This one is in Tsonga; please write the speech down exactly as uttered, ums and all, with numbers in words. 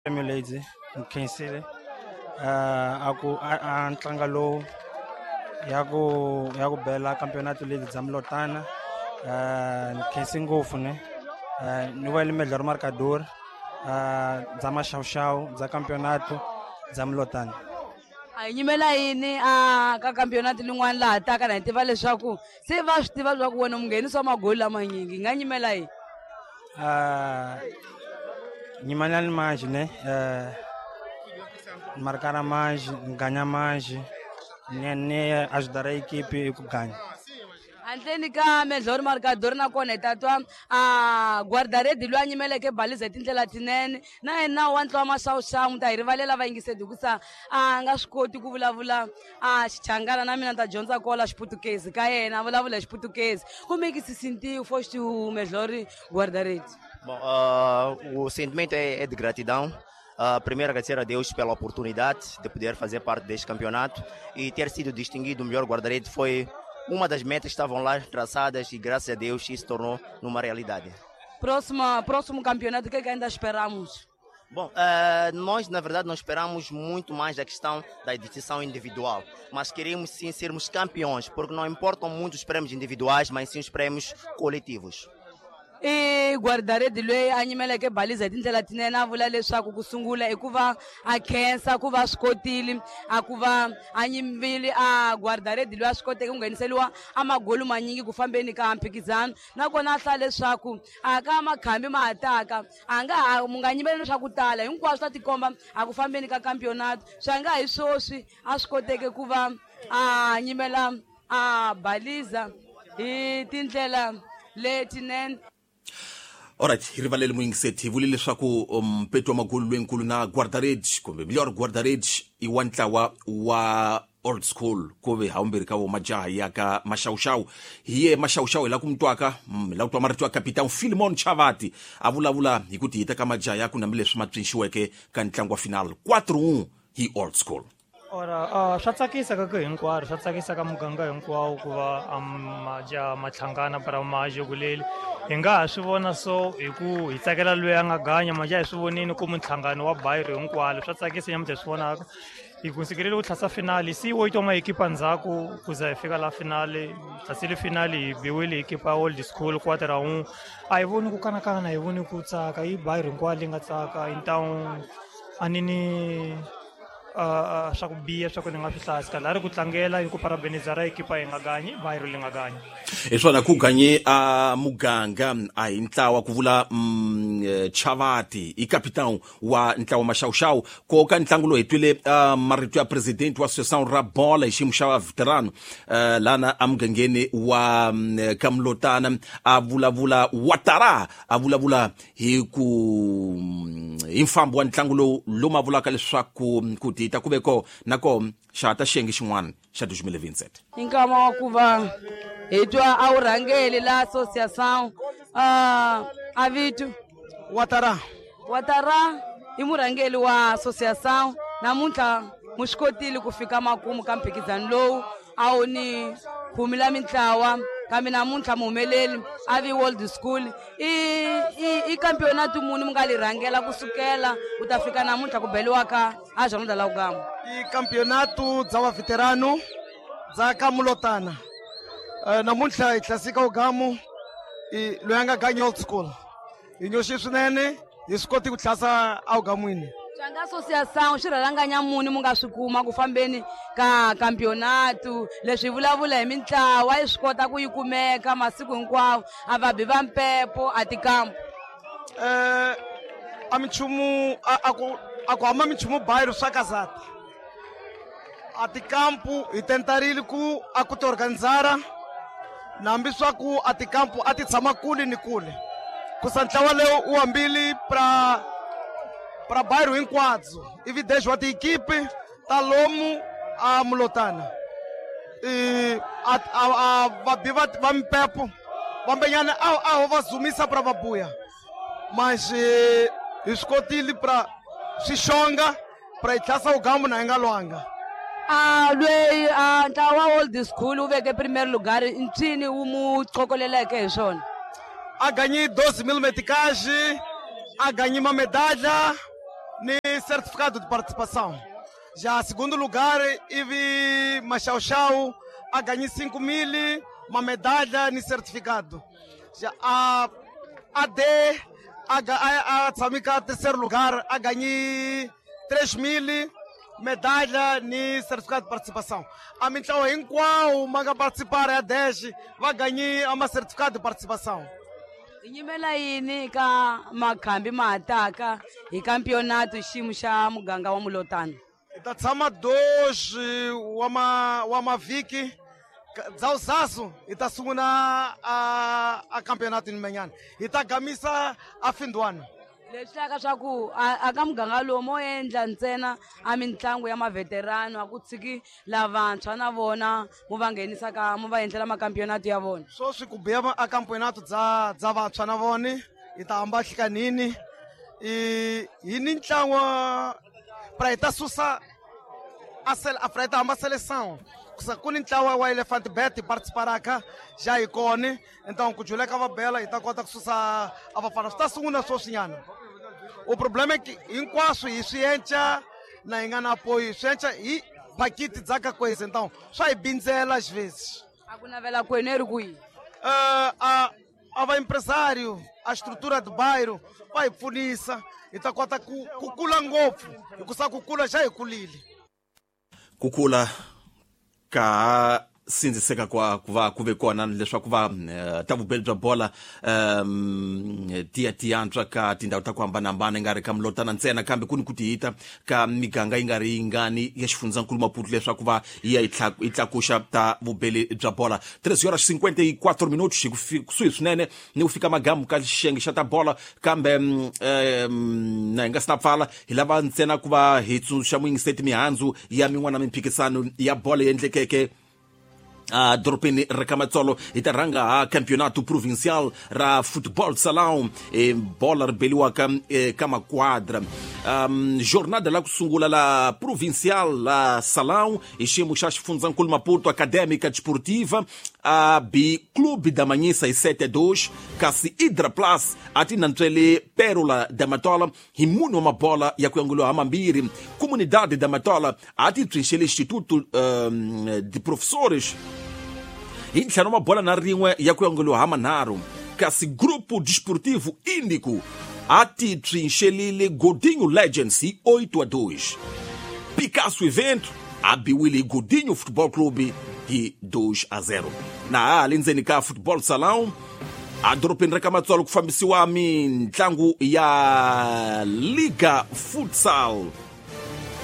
Lady ni khensile a ku a ntlangu lowu ya ku ya ku bela campeonato leti bya Mlotana, ni khensi ngopfu ne ni wele melhor marcador bya maxawuxawu bya campeonato bya Mlotana. A hi nyimela yini a ka campeonato lin'wana laha taka na hi tiva leswaku se va swi tiva leswaku wena munghenisi wa magoli lamanyingi, hi nga nyimela yini? Nyimanani manji ne marcar mais, ganhar mais, ne ne ajudar a equipe ku ganha. Handleni ka melhor marcador nakona hi ta twa a guarda-rede loyi a nyimeleke baliza hi tindlela tinene na yena wa ntlawa maxawuxawu. Mi ta hi rivalela vayingiseri hikusa a nga swi koti ku vulavula a Xichangana, na mina ni ta dyondza kola Xiputukezi ka yena, a vulavula hi Xiputukezi. Como é que se sentiu? Foste o melhor guarda-rede. Bom, uh, o sentimento é, é de gratidão. Uh, primeiro, agradecer a Deus pela oportunidade de poder fazer parte deste campeonato e ter sido distinguido o melhor guarda-redes foi uma das metas que estavam lá traçadas e, graças a Deus, isso se tornou numa realidade. Próxima, próximo campeonato, o que é que ainda esperamos? Bom, uh, nós na verdade não esperamos muito mais da questão da distinção individual, mas queremos sim sermos campeões, porque não importam muito os prêmios individuais, mas sim os prêmios coletivos. I guarda-rede loyi a nyimeleke baliza hi tindlela tinene, a vula leswaku ku sungula i ku va a khensa ku va swi kotile a ku va a nyimbile a guarda-rede loyi a swi koteke ku ngheniseriwa a magoli manyingi ku fambeni ka mphikizano, nakona a hlaya leswaku a ka makhambi ma ha taka a nga ha mu nga nyimeleli swa ku tala, hinkwaswo swi ta tikomba a ku fambeni ka campeonato. Swi nga hi swoswi a swi koteke ku va a nyimela a baliza hi tindlela letinene. Alright, hi rivalele muyingiseti, hi vule leswaku mpeto wa magoli loyinkulu na guarda-redes kumbe melhor guarda-redes i wa ntlawa wa Old School, ku ve hawumbirhi ka vo majaha ya ka maxawuxawu. Hi ye maxawuxawu hi la ku mi twaka, hi la ku twa marito ya Capitão Philemon Chavati a vulavula hi ku tihita ka majaha ya ku hambileswi ma pfinxiweke ka ntlangu wa final four hi Old School. Ora, uh, swa tsakisa ka ku hinkwaro, swa tsakisa ka muganga hinkwawo ku va majaha ma hlangana para majokuleli. Hi nga ha swi vona so hi ku hi tsakela loyi a nga ganya majaha, hi swi vonini ku minhlangano wa bayiro hinkwalo swa tsakisa nyamuntlha hi swi vonaka. Hi kunsikelele ku tlhasa finali si wo twa maekipa ndzhaku ku za hi fika la finali, tlhasile finali hi biwile hi ekipa Old School quarter un. A hi voni ku kanakana, hi voni ku tsaka, i bayiro hinkwalo yi nga tsaka. Então a ni ni Uh, swa ku biha swa ku ni nga swi hlayisi kahle a ri ku tlangela hi ku parabenizara ekipa yi nga ganyi bayiro li nga ganyi. Hi swona ku ganye a muganga a hi ntlawa ku vula mm, Chavati i capitão wa ntlawa maxawuxawu. Ko ka ntlangu lowu hi twile uh, marito ya president wa associação ra bola hi xiyimo xa veterano uh, lana emugangeni wa um, Kamlotana a vulavula Watara a vulavula hi ku hi mfambo wa ntlangu lowu lomu a vulaka leswaku ku tita ku ve ko na ko xa ta xiyenge xin'wana xa dois mil e vinte e sete. I nkama wa ku va hi twa a wu rhangeli la associação uh, a vito Watara. Watara i murhangeli wa associação. Namuntlha mu swi kotile ku fika makumu ka mphikizano lowu a wu ni khume la mintlawa, kambe namuntlha muhumeleli a vi Old School. I, i, i campeonato muni mi nga li rhangela kusukela ku ta fika namuntlha ku beliwa ka a Jornada la Ugamba? I campeonato bya va veterano bya ka Mulotana. Uh, namuntlha hi tlasika Ugamu i loyi a nga ganya Old School. Hi nyoxi swinene, hi swi koti ku tlhasa Ugamwini. Swanga associação xi rhalanganya muni mu nga swi kuma ku fambeni ka campeonato? Leswi vulavula hi mintlawa yi swi kota ku yi kumeka masiku hinkwawo, a va bi va mpepo a tikampu. Eh, a minchumu a, a ku a ku hamba minchumu bayiro swa kazata. A tikampu hi tentarile ku a ku ti organizara, nambi swa ku a tikampu a ti tshama kule ni kule. Kusa ntlawa lowu wu hambile pra pra bairro hinkwabyo, ivi dez wa tiekipe ta lomu a Mulotana. E a, a, a vabi va, va mpepo vambenyana a, a ho va zumisa pra vabuya, mas hi swi kotile pra swixonga pra hi tlhasa Ugambu na hi nga lwanga. A lweyi a ntlawa wa Old School wu veke primeiro lugar, ncini wu mu qokoleleke hi swona? A ganhei doze mil meticais, a ganhei uma medalha. ni certificado de participação. Já segundo lugar, ivi Maxauxau a ganhei cinco mil, uma medalha ni certificado. Já a A D a a, a tsamika terceiro lugar a ganhei três mil, medalha ni certificado de participação. A mintlawa hinkwawo ma nga participar ya dez va ganhei ama certificado de participação. Nyimela yini ka makhambi ma hataka hi campeonato xiyimo xa muganga wa Mulotana? Hi ta tshama dois wa ma wa mavhiki dzawuzazu hi ta sungula a a campeonato nimenyana hi ta gamisa a findwana. Leswi hlaka swa ku a ka muganga lowu mo endla ntsena a mitlangu ya maveterano a ku tshiki lavantshwa na vona mu va nghenisa ka mu va endlela makampeonato ya vona. Sweswi ku biya a campeonato dza dza vantshwa na vona hi ta hamba hlikanini i hi ni ntlangu pra hi ta susa a sel a pra hi ta hamba seleção ku ni ntlawa wa Elephant Bet participaraka já hi kona então ku juleka va bela hi ta kota ku susa a vafana swi ta sungula sweswinyana. O problema é que hinkwaswo hi swi enca na hi nga na apoio swi enca hi pakiti dza ka coisa então swa hi bindzela às vezes. A ku navela kwenu eri kwihi? Uh, a a va empresário a estrutura do bairro va hi pfunisa hi ta kota ku ku kula ngopfu hikusa ku kula xa hi kulile. Ku kula ka sindziseka kwa ku va ku ve kona leswaku va ta vubeli bya bola um tiya tiyantswa ka tindhawu ta ku hambanahambana yi nga ri ka Mulotana ntsena kambe ku ni ku tihita ka miganga yi nga ri yingani ya xifundzankulu Maputo leswaku va yi ya yi tlakuxa ta vubeli bya bola. Três horas cinquenta e quatro minutos kusuhi swinene ni ku fika magamu ka xiyenge xa ta bola kambe um na hi nga si na pfala hi lava ntsena ku va hi tsundzuxa muyingiseti mihandzu ya min'wana mimphikisano ya bola yi endlekeke a dorobeni ra ka Matsolo. Hi ta rhanga ha campeonato provincial ra futebol salão e bola ri beliwaka ka maquadra. Um, jornada la ku sungula la provincial la salão hi xiyimo xa xifundzankulu Maputo Académica Desportiva a B Clube da Manhissa hi sete a dois kasi Hidra Plus a ti nantswele Pérola da Matola hi mune wa mabola ya ku yanguliwa ha mambirhi. Comunidade da Matola a ti pfinxele Instituto um, de Professores hi ntlhanu mabola na rin'we ya ku yanguliwa ha manharhu kasi Grupo Desportivo Índico a ti pfinxelile Godinho Legends hi oito a dois. Picasso Evento a biwile hi Godinho Futebol Clube hi dois a zero. Na ha le ndzeni ka Futebol Salão a dorobeni ra ka Matsolo ku fambisiwa mintlangu ya Liga Futsal.